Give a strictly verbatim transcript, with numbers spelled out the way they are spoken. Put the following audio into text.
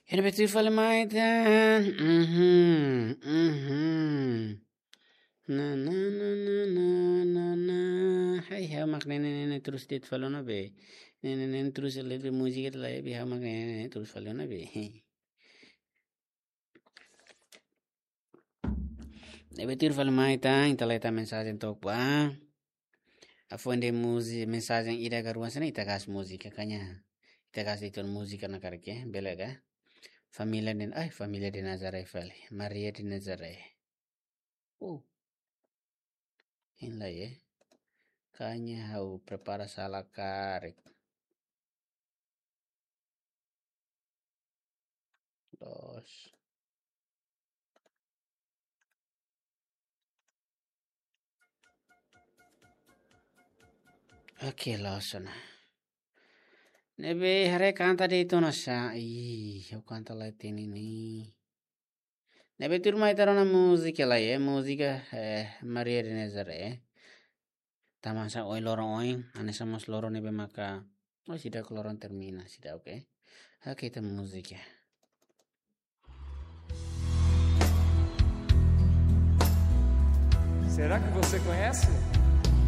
Ne'ebé tuir fali mai tan. Mhm, mhm. Na, na, na. Hai, ha'u mak ne'e, ne'e, ne'e, terus de'it fali ona be. Ne'e, ne'e, ne'e, terus lihat be múzika ida-ne'e be, ha'u mak ne'e, ne'e, ne'e, terus fali ona be. Ne'ebé tuir fali mai tan, ita leta mensajen tok ba. Afuan de múzi-, mensajen ida ka rua hanesan ne'e ita gas múzika kaña. Ita gas itu múzika na karke, bele ka? Família de, ai, família de Nazaré fali. Maria de Nazaré. Uh. Hein lai, eh. Kaña ha'u prepara sala karik. Loos. Oke, loos ona. Ne'ebé haree kanta de'it ona sa. Ih, ha'u kanta lai teni ni. Ne'ebé tuir mai ita rona múzika lai, eh, múzika, eh, Maria de Nazaré. Tanba sá ohin loron oin, hanesan mós loron ne'ebé maka, oh, seidauk loron termina, seidauk, oke. Oke, ita múzika. Será que você conhece?